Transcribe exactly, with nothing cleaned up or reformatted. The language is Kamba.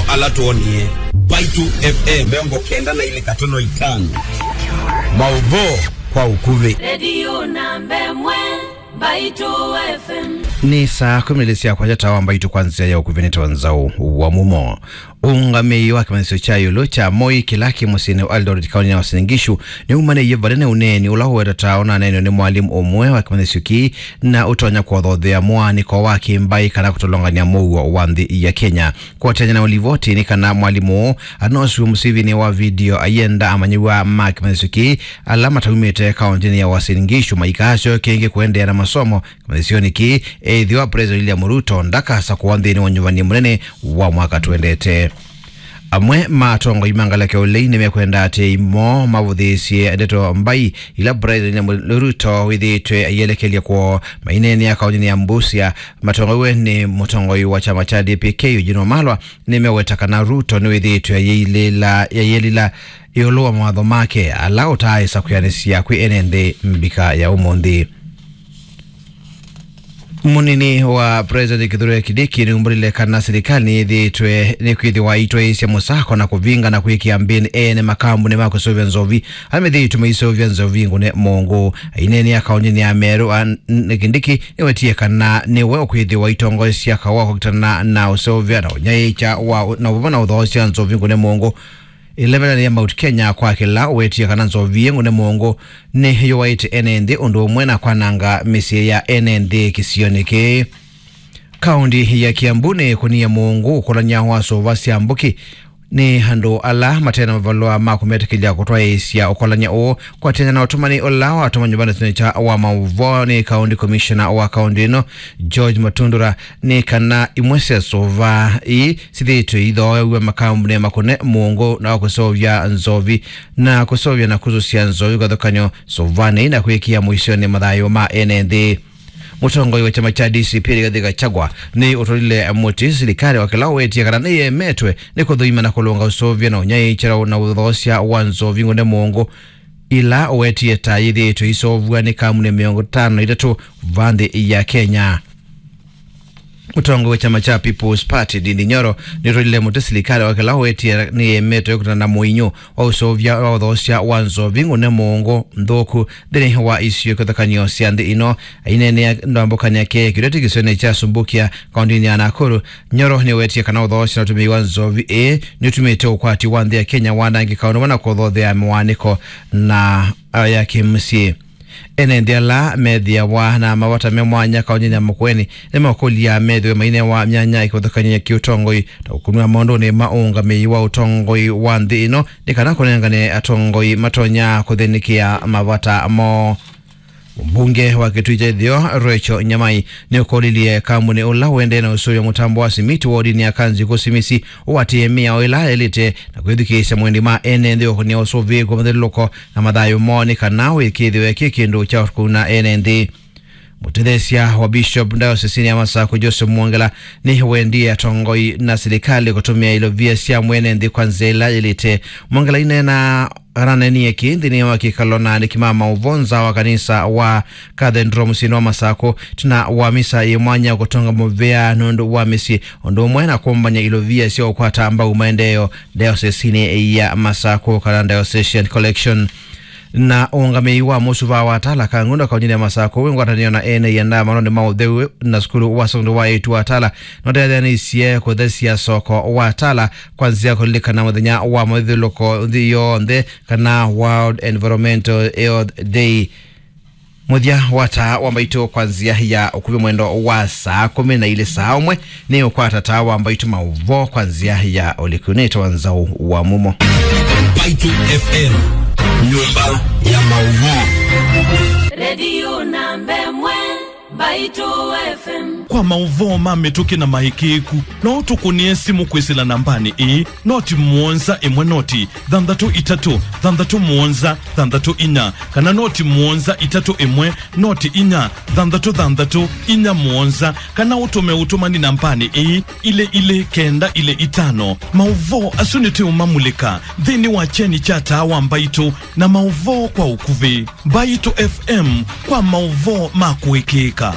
Ala twonie. Mbaitu F M mĩongo kenda na ilĩ katono itano. Maũvoo kwa ũkuvĩ. Redio namba ĩmwe, Mbaitu F M. Nĩ saa kũmi na ilĩ sya kwakya, taa wa Mbaitu kwa nzĩa ya ũkuvĩ nĩ Nzau wa Mumo. Ũũngamĩi wa kĩmanyĩsyo kya ĩũlũ kya Moi kĩla kĩ mũsyĩnĩ wa Eldoret, kaũntĩnĩ ya Uasin Gishu, nĩumanĩie vanene ũneeni ũla ũwetetaa ũnaneenwe nĩ mwalimũ ũmwe wa kĩmanyĩsyo kĩĩ na ũtonya kũthothea mũaanĩko wa kĩmbaĩ kana kũtolongany'a mũuo wa nthĩ ya Kenya. Kũatĩanĩa na ũlivoti nĩ kana mwalimũ ũũ anosiwe mũsivinĩ wa video ayenda amanyĩw'a ma kĩmanyĩsyo kĩĩ ala mataumĩte kaũntĩnĩ ya Uasin Gishu maikasyoke ĩngĩ kũendeea na masomo kĩmanyĩsyonĩ kĩĩ, ethĩwa President William Ruto ndakasakũwa nthĩnĩ wa ũnyuvani mũnene wa mwaka twendete. Amwe ma atongoi ma ngalĩko ya ũlei nĩmekwenda atĩĩi moo mavũthĩĩsye ndeto mbai ila President William Ruto wĩthĩĩtwe aielekelya kwoo. Maineenea kaũntĩnĩ ya Busia, matongoew'e nĩ mũtongoi wa kyama kya D P K, Eugene Wamalwa, nĩmeweta kana Ruto nĩwĩthĩĩtwe ayĩilĩla, ayĩilĩla ĩũlũ wa mawatho make ala ũtaaĩsa kwĩanĩsya kwĩ ene nthĩ mbika ya ũmũnthĩ. Mũnini wa President Kithure Kindiki nĩumbũlile kana silikalĩ nĩyĩthĩĩtwe nĩkwĩthĩwa ĩitwaĩĩsya mũsako na kũvinga na kwĩkĩa mbĩnĩ ene makambunĩ ma kũseũvya nzovi ala methĩĩtwe maiseũvya nzovi ngũne mũngũ. Aineenea kaũntĩnĩ ya Meru, a, n-, Kindiki nĩwetie kana nĩwe ũkwĩthĩwa aitongoesya kaũ wa kũkitana na ũseũvya na ũnyaĩĩkya wa, na ũvava na ũthoosya nzovi ngũne mũngũ. Ĩlevelani ya Mount Kenya kwa kĩla ũwetie kana nzovi ĩ ngũne mũngũ nĩyũaĩte ene nthĩ ũndũ ũmwe na kwananga mĩsyĩ ya ene nthĩ kĩsionĩ kĩĩ. Kaũntĩ ya Kiambu nĩkũnie mũngũ ũkolany'a wa sũva sya mbũkĩ nĩ andũ ala mate na mavalũa ma kũmetĩkĩlya kũtwaĩĩsya ũkolany'a ũũ. Kũatĩanĩa na ũtũmani ũla watũmanywa nĩ kyaũ wa maũvoo nĩ County Commissioner wa kaũntĩ ĩno, George Matundura, nĩ kana imwe sya sũva ii syĩthĩĩtwe ithooew'a makambunĩ makũne mũngũ na kũseũvya nzovi, na kũseũvya na kũsũsya nzovi kĩvathũkany'o sũvanĩ na kwĩkĩa mũisyonĩ mathayũ ma ene nthĩ. Mũtongoi wa kyama kya D C P Rigathi Gachagua nĩ ũtũlile mũtĩ silikalĩ wa kĩla ũwetie kana nĩyemetwe nĩ kũthũima na kũlũnga ũseũvya na ũnyaĩĩkya na ũthoosya wa nzovi ngũne mũngũ ila ũwetie ta yĩthĩĩtwe iseũvw'a nĩ kambunĩ mĩongo ĩtano na itatũ va nthĩ ya Kenya. Mũtongoi wa kyama kya People's Party, Ndindi Nyoro, nĩũtũlile mũtĩ silikalĩ wa kĩla ũwetie nĩyemetwe kũtana na mũinyũ wa ũseũvya wa ũthoosya wa nzovi ngũne mũngũ nthũku nthĩnĩ wa isio kĩvathũkany'o sya nthĩ ĩno. Aineenea ndambũkanĩ yake kĩlĩtĩ kĩsionĩ kya Subukia, kaũntĩnĩ ya Nakuru, Nyoro nĩwetie kana ũthoosya na ũtũmĩi wa nzovi ĩĩ nĩũtumĩte ũkwati wa nthĩ ya Kenya wanangĩka ũndũ ũmwe na kũthothea mĩwanĩko na, a, ya kĩmũsyĩ. Ene nthĩ ala methĩawa na mavata me mwanya kaũntĩnĩ ya Makueni nĩmakũlya methĩwe mainewa myanya ya kĩvathũkany'o ya kĩũtongoi ta kũkunwa maũndũnĩ ma ũũngamĩi wa ũtongoi wa nthĩ ĩno nĩ kana kũnengane atongoi matonya kũthĩnĩkĩa mavata moo. Mũmbunge wa Kitui kya Ĩtheo, Rachel Nyamai, nĩũkũlilye kambunĩ ũla ũendee na ũsũvĩa mũtambo wa simiti wodinĩ ya Kanziku Simisi ũatĩĩe mĩao ĩla yaĩlĩte na kwĩthukĩĩsya mwendi ma ene nthĩ ũkũnĩa ũsũvĩĩku wa mathyũlũlũko na mathayũ moo nĩ kana wĩkĩĩthĩwe kĩ kĩndũ kya kũuna ene nthĩ. Mũtetheesya wa Bishop Diocesinĩ ya Masakũ, Joseph Mwongela, nĩwendie atongoi na silikalĩ kũtũmĩa ilovia sya mwene nthĩ kwa nzĩa ĩla yĩlĩte. Mwongela aineena, aneenie kĩĩ nthĩnĩ wa kĩkalo na aandĩki ma maũvoo nza wa kanisa wa Cathedral mũsyĩnĩ wa Masakũ ĩtina wa misa yĩ mwanya kũtonga mũvea nũndũ wa mĩsyĩ, ũndũ ũmwe na kũmbany'a ilovia sya ũkwata mbau maendeeo diocesinĩ ya Masakũ, kana Diocesan Collection. Na ũũngamĩi wa mũsuva wa Tala Kangundo kaũntĩnĩ ya Masakũ wĩ ngwatanĩo na ene ĩandaa maũndũnĩ ma ũtheu na sukulu wa sekondalĩ wa eĩtu wa Tala nũtetheanĩisye kũthesya soko wa Tala kwa nzĩa kũlilikana mũthenya wa mathyũlũlũko nthĩ yonthe, kana World Environmental Health Day. Mũthya wa taa wa mbaitũ kwa nzĩa ya ũkuvĩ mwendo wa saa kũmi na ilĩ saa ũmwe nĩ ũkwata taa wa mbaitũ maũvoo kwa nzĩa ya ũliku. Nĩtawa Nzau wa Mumo. Mbaitũ F M, nyũmba ya maũvoo. Redio namba ĩmwe, Mbaitũ F M. Kwa maũvoo ma mĩtũkĩ na maĩkĩĩku, no ũtũkũnĩe simũ kwĩsĩla nambanĩ ĩĩ, noti mũonza ĩmwe noti thanthatũ itatũ thanthatũ mũonza thanthatũ inya, kana noti mũonza itatũ ĩmwe noti inya thanthatũ thanthatũ inya mũonza, kana ũtũme ũtũmani nambanĩ ĩĩ, ilĩ ilĩ kenda ilĩ itano. Maũvoo asu nĩtũũmamulĩka nthĩnĩ wa kyeni kya taa wa mbaitũ na maũvoo kwa ũkuvĩ. Mbaitũ F M kwa maũvoo ma kũĩkĩĩka.